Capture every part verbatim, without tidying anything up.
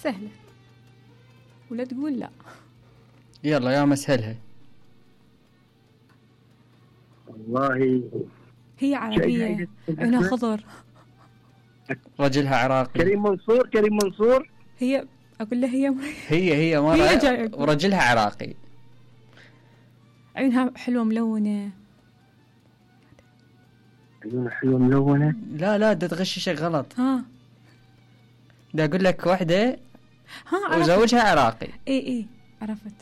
سهلة ولا تقول لا. يلا يا مسهلها. والله هي عربية، عينها خضر. رجلها عراقي. كريم منصور. كريم منصور. هي أقول له هي هي هي مرة ورجلها عراقي. عينها حلوة ملونة. عيونها حلوة ملونة. لا لا دا تغششك غلط. ها دا أقول لك واحدة ها وزوجها عراقي. اي اي عرفت.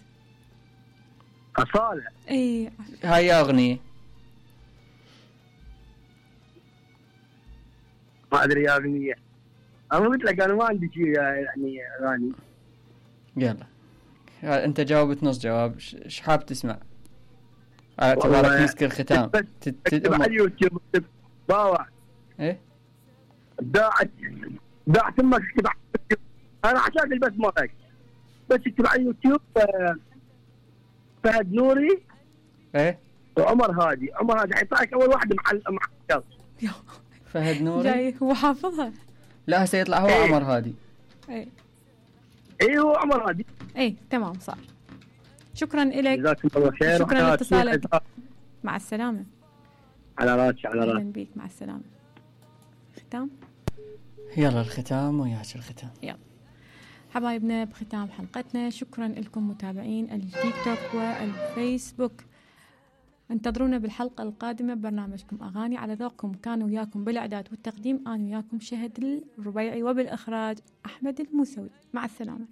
أصالة. اي هاي أغنية. ما أدري يا أغنية. أنا قلت لك أنا ما عندي شيء يعني أغاني. يلا أنت جاوبت نص جواب. ش حاب تسمع؟ على اعتبارك مسك الختام. تكتب على اليوتيوب باوع. إيه؟ داعت داعت أمك تكتب على اليوتيوب. أنا عشان البث مالك بس تكتب على اليوتيوب فهد نوري. إيه؟ وعمر هادي. عمر هادي حيطلعك أول واحد مع مع الشخص. فهد نوري. جاي هو حافظها. لا سيطلع هو إيه؟ عمر هادي. اي ايه هو عمر هادي. اي تمام صار. شكرا لك. جزاكم الله خير. شكرا لاتصالك. مع السلامة. على راسي على راسي. أهلا بيك. مع السلامة. ختام. يلا الختام وياك الختام. يلا حبايبنا بختام حلقتنا. شكرا لكم متابعين التيك توك والفيسبوك. انتظرونا بالحلقة القادمة ببرنامجكم أغاني على ذوقكم. كان وياكم بالإعداد والتقديم أنا وياكم شهد الربيعي، وبالإخراج أحمد الموسوي. مع السلامة.